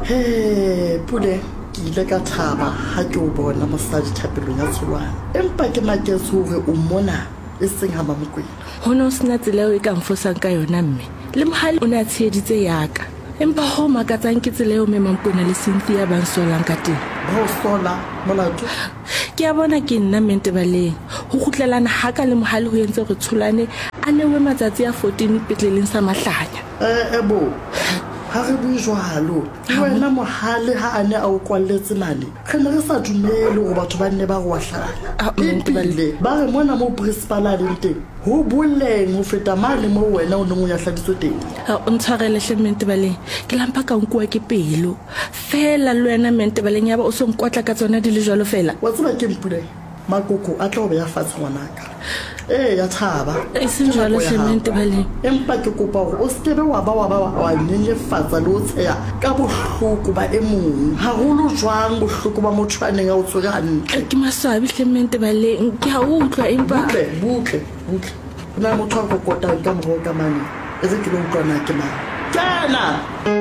He, Pule, ke ile ka thaba ha ke o bona mosadi thapelong ya Tsholwana. Empa ke maketse hore o mona e seng ha Mamokwena. Ho ne ho sena tsela eo e ka nfosang ka yona, mme. Le Mohale o ne a tsheheditse ya ka. Empa ho makatsang ke tsela eo Mme Mamokwena le Cynthia ba nsolang ka teng. Ba o sola? Molato? Ke a bona ke nna Mme Ntebaleng. Ho kgutlelana ha ka le Mohale ho entse hore Tsholwane a newe matsatsi a 14 petleleng sa Mahlanya. E-e bo, ha re bue jwalo. Le wena Mohale ha a ne a o kwalletse mane, re ne re sa dumele hore batho ba nne ba re wa hlanya. Ebile ba re mona moo principal a leng teng, ho boleng ho feta mane moo wena o neng o nyahladitswe teng. O ntshwarele hle Mme Ntebaleng, ke la mpa ka nkuwa ke pelo. Feela le wena Mme Ntebaleng yaba o so nkotla ka tsona di le jwalo feela. Wa tseba keng Puleng? Makoko a tla o beya fatshe ngwanaka. Eya thaba. E seng Ke jwalo nako ya hle hao. Mme Ntebaleng. Empa ke kopa hore o se ke be wa ba wa ba wa nyenyefatsa le ho tsheha ka bohloko ba e mong. Haholo jwang bohloko ba motho a neng a o tshwere hantle. Ke maswabi hle Mme Ntebaleng. Ke a utlwa empa. Butle, butle, butle. Ho na le motho a kokotang ka morao ka mane. E re ke lo utlwa na ke mang. Kena!